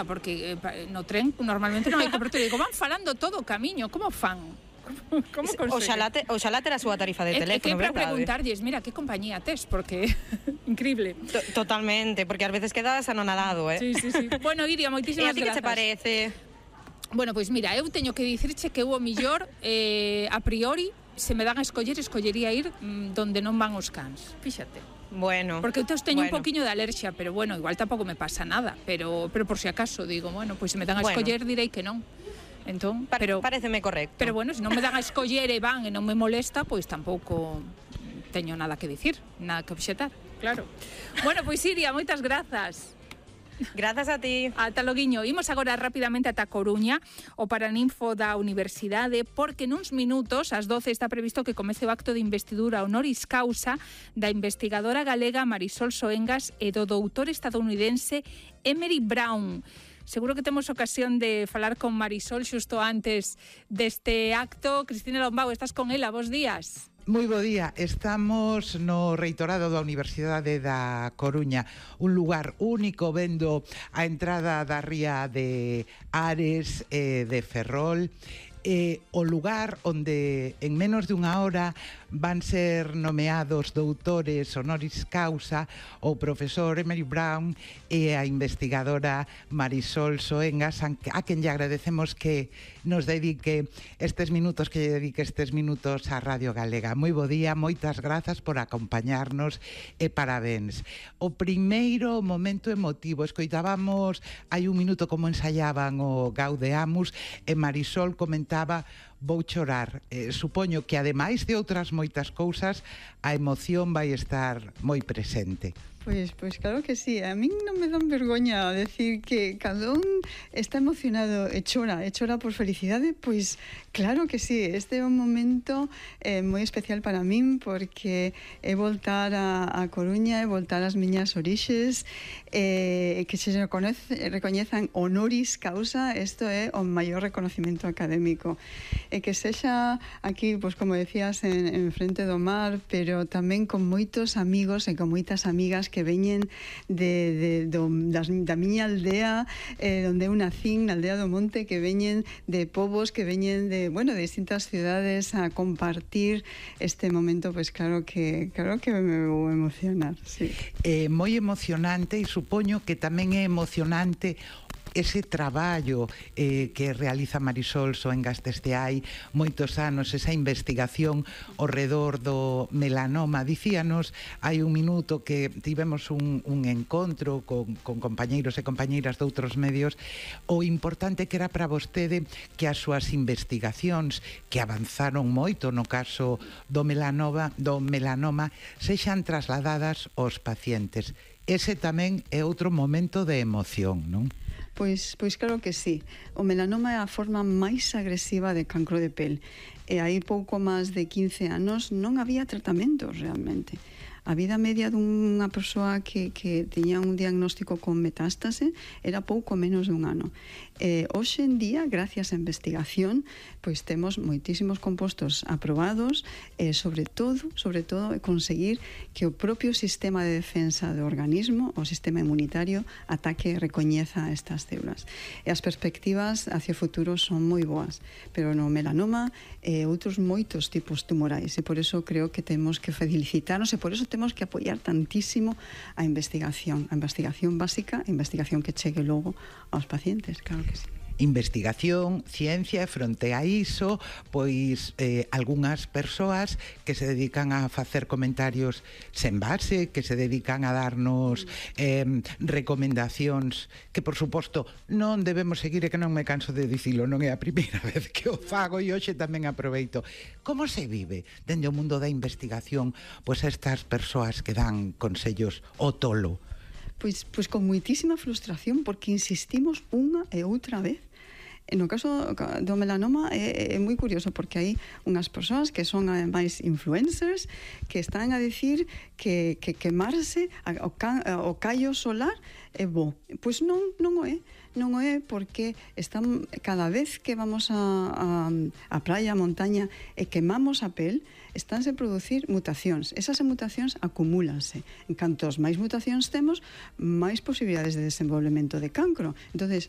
pregunta, porque no tren normalmente non hai cobertura. Digo, van falando todo o camiño, como fan? Como oxalá ter a súa tarifa de teléfono, que para verdade? preguntarlles, mira, que compañía tes, porque increíble. Totalmente, porque ás veces quedas anonadado, Sí. Bueno, Iria, moitísimas grazas. E a ti que te parece? Bueno, pois mira, eu teño que dicirche que eu o millor, a priori, se me dan a escollería ir donde non van os cans, fíxate. Bueno. Porque eu teño un poquinho de alerxia, pero bueno, igual tampouco me pasa nada, pero por si acaso digo, bueno, pois se me dan a escoller direi que non. Entón, pareceme correcto. Pero bueno, se non me dan a escoller e van e non me molesta, pois tampouco teño nada que dicir, nada que obxetar, claro. Bueno, pois Iria, moitas grazas. Grazas a ti. Ata loguiño. Imos agora rapidamente ata Coruña, o Paraninfo da Universidade, porque nuns minutos, ás 12, está previsto que comece o acto de investidura honoris causa da investigadora galega Marisol Soengas e do doutor estadounidense Emery Brown. Seguro que temos ocasión de falar con Marisol xusto antes deste acto. Cristina Lombao, estás con ela, bos días. Moi bo día, estamos no Reitorado da Universidade da Coruña, un lugar único vendo a entrada da ría de Ares e de Ferrol, o lugar onde en menos de unha hora van ser nomeados doutores honoris causa o profesor Emery Brown e a investigadora Marisol Soengas, a quen lle agradecemos que nos dedique estes minutos, á Radio Galega. Moi bo día, moitas grazas por acompañarnos e parabéns. O primeiro momento emotivo, escoitábamos hai un minuto como ensayaban o Gaudeamus e Marisol comentaba: vou chorar. Supoño que ademais de outras moitas cousas, a emoción vai estar moi presente. Pois claro que sí, a min non me dan vergoña decir que cada un está emocionado e chora por felicidade, pois claro que sí, este é un momento moi especial para min, porque é voltar a Coruña, é voltar ás miñas orixes, que se recoñezan honoris causa, isto é o maior reconocimiento académico, e que sexa aquí, pois como decías, en frente do mar, pero tamén con moitos amigos e con moitas amigas que veñen da miña aldea, onde eu nacín, na aldea do Monte, que veñen de povos, que veñen de distintas cidades a compartir este momento, pois claro que me vou emocionar, sí. Moi emocionante, e supoño que tamén é emocionante ese traballo que realiza Marisol Soengas desde hai moitos anos, esa investigación ao redor do melanoma. Dicíanos hai un minuto que tivemos un encontro con compañeiros e compañeiras de outros medios, o importante que era para vostede que as súas investigacións, que avanzaron moito no caso do melanoma sexan trasladadas aos pacientes. Ese tamén é outro momento de emoción, non? Pois claro que sí. O melanoma é a forma máis agresiva de cancro de pel. E aí pouco máis de 15 anos non había tratamentos realmente. A vida media dunha persoa que tiña un diagnóstico con metástase era pouco menos dun ano. Hoxe en día, gracias á investigación, pois temos moitísimos compostos aprobados, sobre todo conseguir que o propio sistema de defensa do organismo, o sistema inmunitario, ataque e recoñeza estas células. E as perspectivas hacia o futuro son moi boas, pero no melanoma e outros moitos tipos tumorais, e por eso creo que temos que felicitarnos, e por eso temos que apoiar tantísimo a investigación básica, a investigación que chegue logo aos pacientes, claro que sí. Investigación, ciencia, e fronte a iso, pois algunhas persoas que se dedican a facer comentarios sen base, que se dedican a darnos recomendacións que, por suposto, non debemos seguir, e que non me canso de dicilo, non é a primeira vez que o fago, e hoxe tamén aproveito. Como se vive dende o mundo da investigación pois estas persoas que dan consellos ao tolo? Pois con moitísima frustración, porque insistimos unha e outra vez. No caso do melanoma é moi curioso, porque hai unhas persoas que son máis influencers que están a dicir que quemarse o callo solar é bo. Pois non o é, porque cada vez que vamos a praia, a montaña e quemamos a pel, estánse a producir mutacións. Esas mutacións acumúlanse. En cantos máis mutacións temos, máis posibilidades de desenvolvemento de cancro. Entonces,